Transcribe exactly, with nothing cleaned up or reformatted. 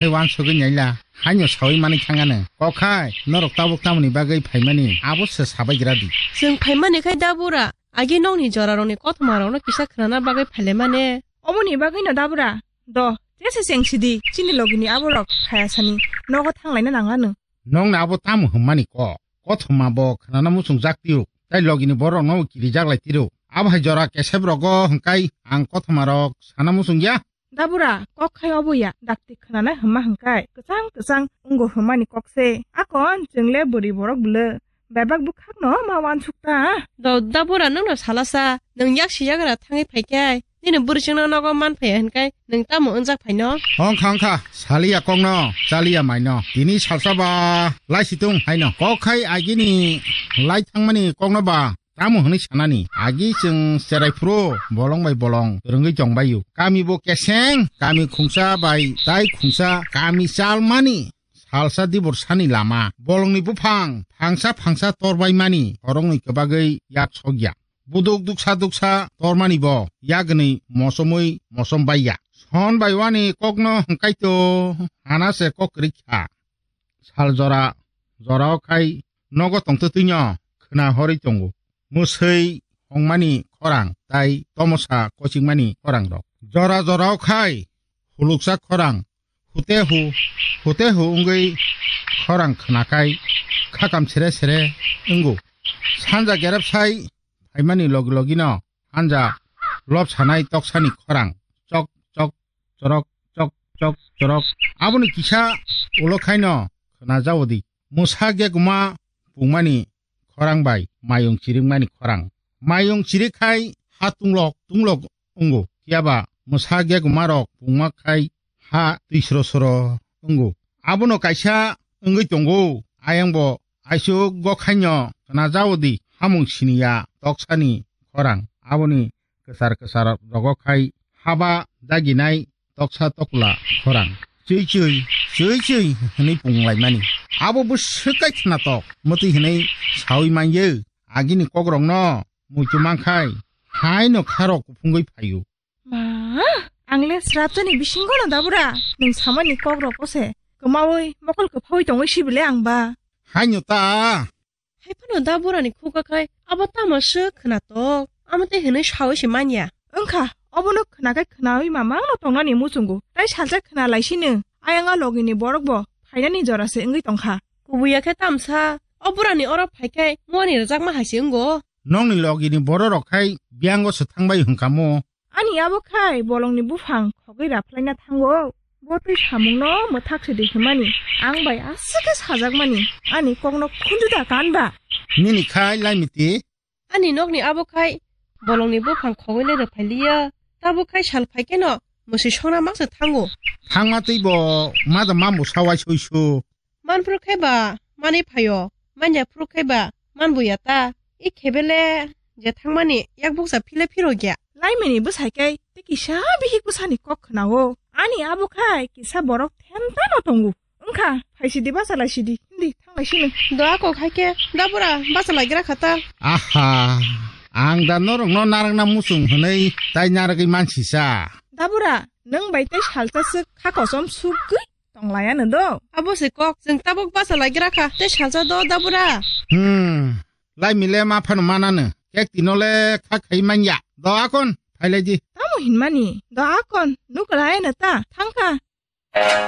Hai wansugwi naila, haino sawi manwi thangano. Kok hai, norok tabuk tamoni bagwi phaimani, abo se sabai gra di. Chwng phaimani khai da bura, agi nokni jorarokni kothmarokno kisa khnana bagwi phailaimani. Omoni bagwino da bura, do, jese cheng sidi, chini logini aborok phaya sani, nogo thanglaina nangano. Nongni abo tamo hwnmani kok? Kothoma bo khnana muchungjak tiro, tai logini borokno kirijak lai tiro. Abo hai jora kesep rogo hwnkai ang kothoma rok sana muchung ya. Dabura, kok khai obo ya, dakti khnana hwnma hwnkai, kwchang kwchang wngo hwnmani kok se. Akon chwngle bwrwi borok bwle, bebak bwkhakno ma wansuk ta. Do, dabura nwngno salasa, nwng yak si yagra thangwi phaikhai. Nini bwrwi chwngno nogo man phaiya hwnkhai nwng tamo wngjak phaino? Ongkha, ongkha, saliya kokno, chaliya maino. Tini salsa ba laisitung haino. Kok khai agini lai thangmani kokno ba tamo hwnwi sanani. Agi chwng cherai phuru bolong bai bolong rwngwi tongbaio. Kami bo keseng, kami khungsa bai tai khungsa, kami chalmani. Salsa dibor sani lama, bolongni buphang phangsa phangsa torbaimani, khoroknwi kwbagwi yak sokya. Buduk duksa duksa tormani bo, yagwnwi mosomwi mosom baiya. Son bai wani kokno hwnkhaito hana se kok kwrwi kha. Sal jora, jorao khai nogo tongtwtwino khwna horwi tongo. Mwswi hongmani khorang tai tomosa kochikmani khorang rok. Jora jorao khai huluksa khorang hute hu, hute hu wngwi khorang khwnakhai khakam sere sere wngo. Sanja gerep sai phaimani logi logino hanja lop sanai toksani khorang chok chok chorok chok chok chorok. Aboni kisa ulo khaino khwnajaodi. Mwsa geguma pungmani khorang bai mayung chirikmani khorang. Mayung chirik khai ha tunglok tunglok wngo. Phiya ba mwsa gegumarok pungma khai ha twi sro sro wngo. Abono kaisa wngwi tongo. Ayang bo aisuk gokhaino khwnajaodi hamung siniya toksani khorang. Aboni kwchar kwchar rogo khai haba daginai toksa tokla khorang. Chwi chwi, chwi chwi hwnwi punglaimani. Abo bwswk kai khwnatok, mwtwi hwnwi sawi manya. Agini kokrokno muitu mankhai, haino kharok kuphungwi phaio. Ma, ang le srapjani bisingo no dabura. Nwng samani kokrok kose kwmawi mokol kwphawi tongwi sibile ang ba. Haino ta. Hai phano da burani khuga khai abo tamo swk khwnatok, amo tei hwnwi sawi se manya. Wngkha, obono khwna khai khwnawi mamangno tongnani muchungo, tai salsa khwna laisino, ayang a logini borokbo phainani jora se wngwi tongkha. Kubuya khe tamsa, o burani oro phai khai muani rwjakma hai se wngo. Nokni logini bororok khai biyango se thangbai hwnkha mo. Ani abo khai bolongni buphang khogwi raphlaina thango. Bo twi samungno mwthak sidi hwnmani, ang bai aswk khe sajakmani, ani kokno khunju da kan ba? Nini khai laimiti? Ani nokni abo khai bolongni buphang khogwi le rwphai liya. Tabuk khai sal phai kheno mwswi songna maksa thango. Thangma twi bo mada mambo sawai suisu. Manphuru khe ba manwi phaio, manya phuru khe ba manbuya ta. I khebele je thangmani yak bukcha phile phirokya. Laimini bwsai khe tei kisa bihik bwsani kok khwnao. Ani abo khai kisa borok themtano tongo. Wngkha, phaisidi bachalai sidi, hindi thanglai sino. Do ako khai khe da bura bachalai gra kha ta. Aha, ang da norokno narwkna muchung hwnwi tai narwgwi mansisa. Da bura, nwng bai tei salsa swk kha kosom sukgwi tonglaiano do. Abo se kok, chwng tabuk bachalai gra kha, tei salsa do da bura. Hmm, laimile ma phano manano, kek tino le kha khai manya. Do akon, phailai di. Tamo hinmani, do akon, nuklaiano ta, thangkha.